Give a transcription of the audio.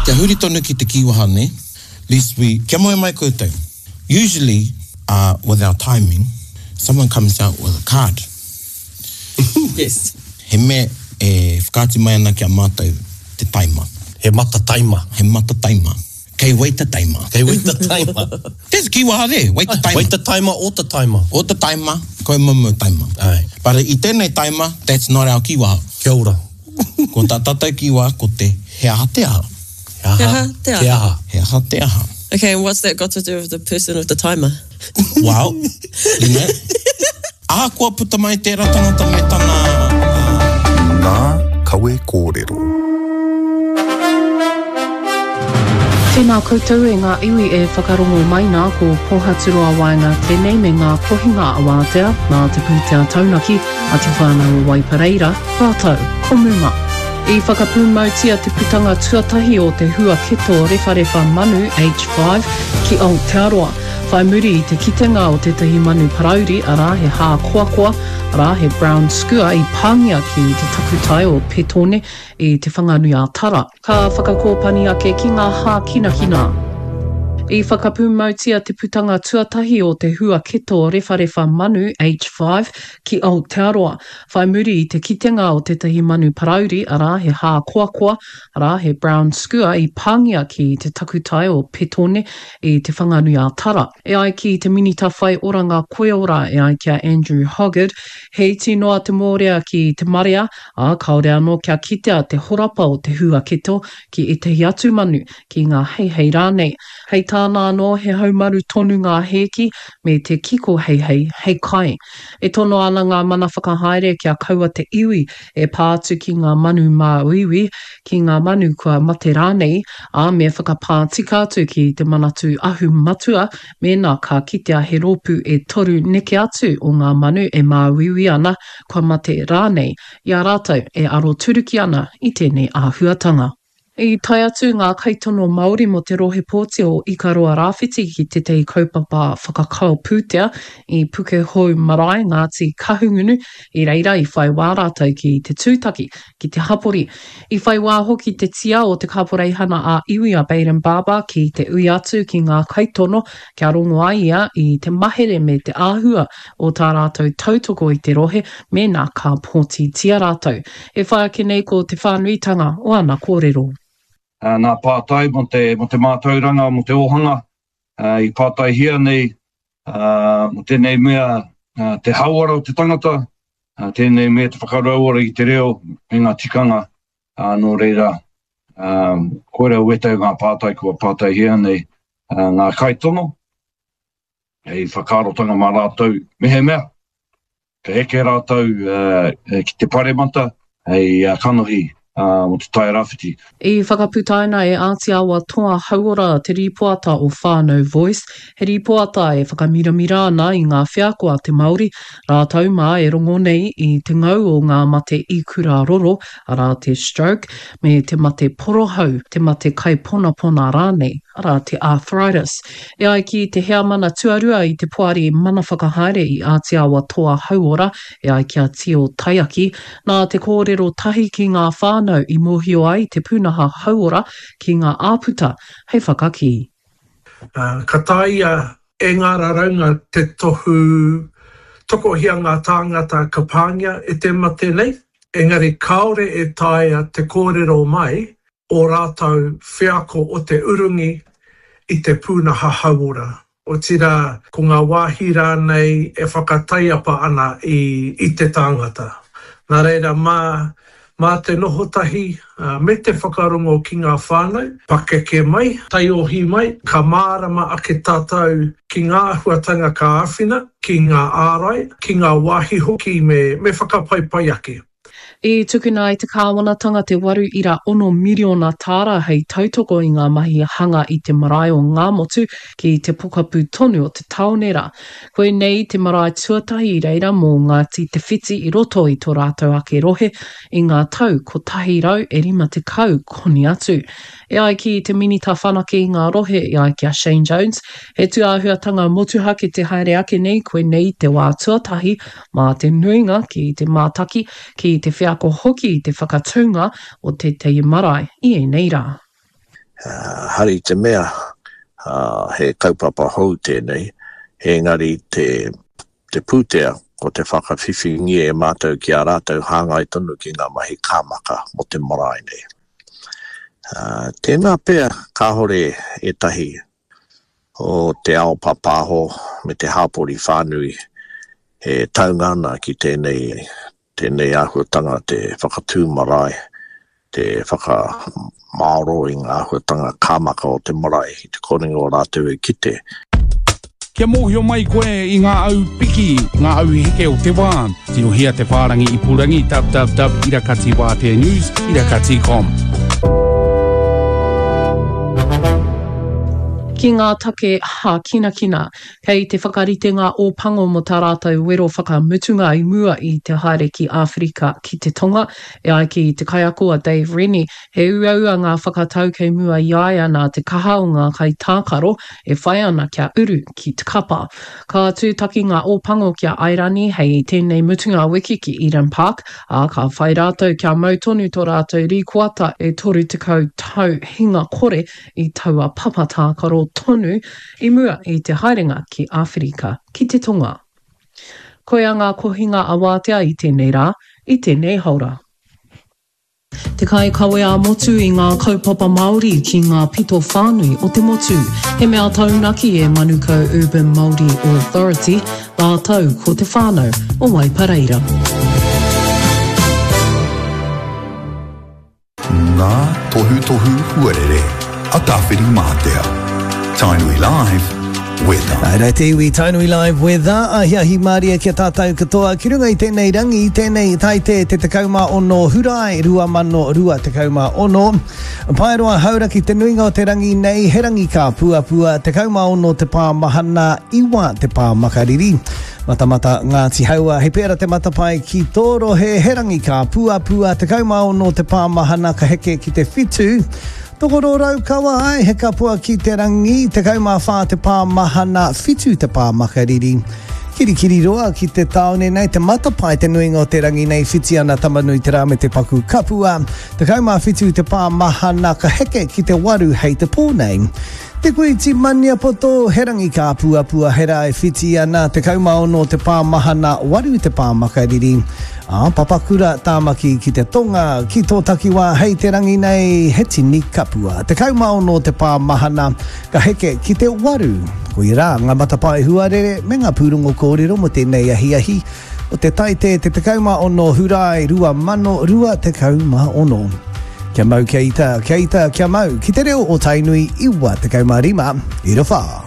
Kia huri tonu ki te kīwaha nei, lest we, kia moe mai koutou. Usually, uh, with our timing, someone comes out with a card. Yes. He mea e whakaatu mai ana ki a mātou te taima. He mata taima. He mata taima. Kei waita taima. Kei waita taima. There's a kīwaha there, waita taima. Waita taima, ōta taima. Ōta taima, koumoumou taima. Aye. But i tēnei taima, that's not our kīwaha. Kia ora. Ko tā tātou kīwaha ko te he aha te aha. He aha, He aha te aha. Te aha. He aha te aha. Okay, and what's that got to do with the person with the timer? Well, you know, ahakoa puta mai tērā tangata me tana, uh. Ngā kawe kōrero. Tēnā koutou e ngā iwi e whakarongo mai nā, ko Pohaturoa Waenga tēnei me ngā kohinga awātea nā te pūtea taunaki a Te Whānau o Waipareira rātou ko Muma. I whakapūmautia te putanga tuatahi o te huaketo rewharewha manu H5 ki Aotearoa, whai muri i te kitenga o tētahi manu parauri, arā, he hākoakoa, arā, he brown skua i pāngia ki te takutai o Petone i Te Whanganui-a-Tara. Ka whakakōpani ake ki ngā hākinakina. I whakapūmautia te putanga tuatahi o te huaketo rewharewha manu H5 ki Aotearoa, whai muri i te kitenga o tētahi manu parauri, arā, he hākoakoa, arā, he brown skua i pāngia ki te takutai o Petone i Te Whanganui-a-Tara. E ai ki te Minita Whai Oranga Koiora e ai ki a Andrew Hoggard, he iti noa te mōrea ki te marea, ā, kāore anō kia kitea te horapa o te huaketo ki ētahi atu manu, ki ngā heihei rānei. Hei tāna anō, he haumaru tonu ngā hēki me te kiko heihei hei kai. E tono ana ngā mana whakahaere kia kaua te iwi e pā atu ki ngā manu māuiui, ki ngā manu kua mate rānei, ā, me whakapā tika atu ki te Manatū Ahu Matua mēnā ka kitea he rōpū e toru neke atu o ngā manu e māuiui ana, kua mate rānei, i a rātou e aroturuki ana i tēnei āhuatanga. I tae atu ngā kaitono Māori mō te rohe pōti o Ikaroa Rāwhiti ki tētahi kaupapa whakakao pūtea i Pukehou Marae, Ngāti Kahungunu, i reira i whai wā rātou ki te tūtaki ki te hapori. I whai wā hoki te tia o te Kaporeihana ā-Iwi a Bayden Barber ki te ui atu ki ngā kaitono kia rongo ai ia i te mahere me te āhua o tā rātou tautoko i te rohe mēnā ka pōtitia rātou. E whai ake nei ko te whānuitanga o ana kōrero. Ngā pātai mō te, mō te mātauranga, mō te ōhanga i pātaihia nei mō tēnei mea te hauora o te tangata, tēnei mea te whakarauora i te reo me ngā tikanga, nō reira, koira wētahi o ngā pātai kua pātaihia nei ngā kaitono. Hei whakaarotanga mā rātou, mehemea ka eke rātou ki te paremata hei kanohi mō Te Tai Rāwhiti. I whakaputaina e Āti Awa Toa Hauora te rīpoata o Whānau Voice, he rīpoata e whakamiramira ana i ngā wheako a te Māori, rātou mā e rongo nei i te ngau o ngā mate ikura roro, arā te stroke, me te mate porohau, te mate kaiponapona rānei, arā te arthritis. E ai ki te heamana tuarua i te Poari Mana Whakahaere i Āti Awa Toa Hauora, e ai ki a Tio Taiaki, nā te kōrero tahi ki ngā whānau i mōhio ai te pūnaha hauora ki ngā āputa hei whakakī. Ka taea e ngā raraunga te tohu tokohia ngā tāngata ka pāngia e te mate nei, engari kāore e taea te kōrero mai ō rātou wheako o te urungi i te pūnaha hauora, otirā ko ngā wāhi rānei e whakataiapa ana i te tāngata. Nā reira, mā, mā te noho tahi me te whakarongo ki ngā whānau, pakeke mai, taiohi mai, ka mārama ake tātou ki ngā āhuatanga ka āwhina, ki ngā ārai, ki ngā wāhi hoki me, me whakapaipai ake. I tukuna e te kāwanatanga te 8.6 miriona tāra hei tautoko i ngā mahi hanga i te marae o Ngāmotu ki te pokapū tonu o te tāone rā. Koinei te marae tuatahi i reira mō Ngāti Te Whiti i roto i tō rātou ake rohe i ngā tau 150 koni atu. E ai ki te Minita Whanake i ngā Rohe e ai ki a Shane Jones, he tūāhuatanga motuhake te haere ake nei koinei te wā tuatahi mā te nuinga ki te mātaki, ki te wheako hoki i te whakatūnga o tētahi marae i ēnei rā. Hari te mea he kaupapa hou tēnei, engari te, te pūtea ko te whakawhiwhingia e mātou ki a rātou hāngai tonu ki ngā mahi kāmaka mō te marae nei. Tēnā pea kāore ētahi o te ao pāpāho me te hāpori whānui e taunga ana ki tēnei tēnei āhuatanga te whakatū marae, te whakamāoro i ngā āhuatanga kāmaka o te marae i te korenga o rātou e kite. Kia mōhio mai koe i ngā au piki, ngā au heke o te wā, tirohia te whārangi ipurangi www irakati wātea news irakati com. Ki ngā take hākinakina, Kei te whakarite ngā Ōpango mō tā rātou wero whakamutunga i mua i te haere ki Āwherika ki te Tonga. E ai ki te kaiako a Dave Rennie, he uaua ngā whakatau kei mua i a ia nā te kaha o ngā kaitākaro e whai ana kia uru ki te kapa. Ka tūtaki ngā Ōpango ki a Airani hei tēnei mutunga wiki ki Eden Park, ā, ka whai rātou kia mau tonu tō rātou rīkoata e 30 tau hinga kore i taua papa tākaro tonu i mua i te haerenga ki Āwherika ki te Tonga. Koia ngā kohinga awātea i tēnei rā, i tēnei haora. Te kaikawe ā-motu i ngā kaupapa Māori ki ngā pito whānui o te motu. He mea taunaki e Manukau Urban Māori Authority rātou ko te whānau o Waipareira. Ngā tohutohu huarere a Tāwhirimātea. Tainui Live, Weather. Haere te iwi, Tainui Live Weather, ahiahi mārie ki a tātou katoa ki runga i tēnei rangi, i tēnei Taite te 16 Hurae 2026. Paeroa Hauraki te nuinga o te rangi nei, he rangi kāpuapua, 16 te pā mahana, 9 te pā makariri. Matamata Ngāti Haua, he pēra te matapae ki tō rohe, he rangi kāpuapua, 16 te pā mahana ka heke ki te whitu. Tokoro Raukawa, āe, he kapua ki te rangi, 14 te pā mahana, whitu te pā makariri. Kirikiriroa ki te tāone nei, te matapae te nuinga o te rangi nei, whiti ana Tamanuiterā me te paku kapua, 17 te pā mahana ka heke ki te waru hei te pō nei. Te Kuiti Maniapoto, he rangi kāpuapua, he rā e whiti ana, 16 te pā mahana, waru te pā makariri. Ā, Papakura, Tāmaki ki te tonga, ki tō takiwā hei te rangi nei, he tini kapua. 16 te pā mahana, ka heke ki te waru. Koia rā ngā matapae huarere me ngā pūrongo kōrero mō tēnei ahiahi o te Taite te 16 Hurae 2026. Kia mau, kia ita, kia ita, kia mau, ki te reo o Tainui 95, ira whā.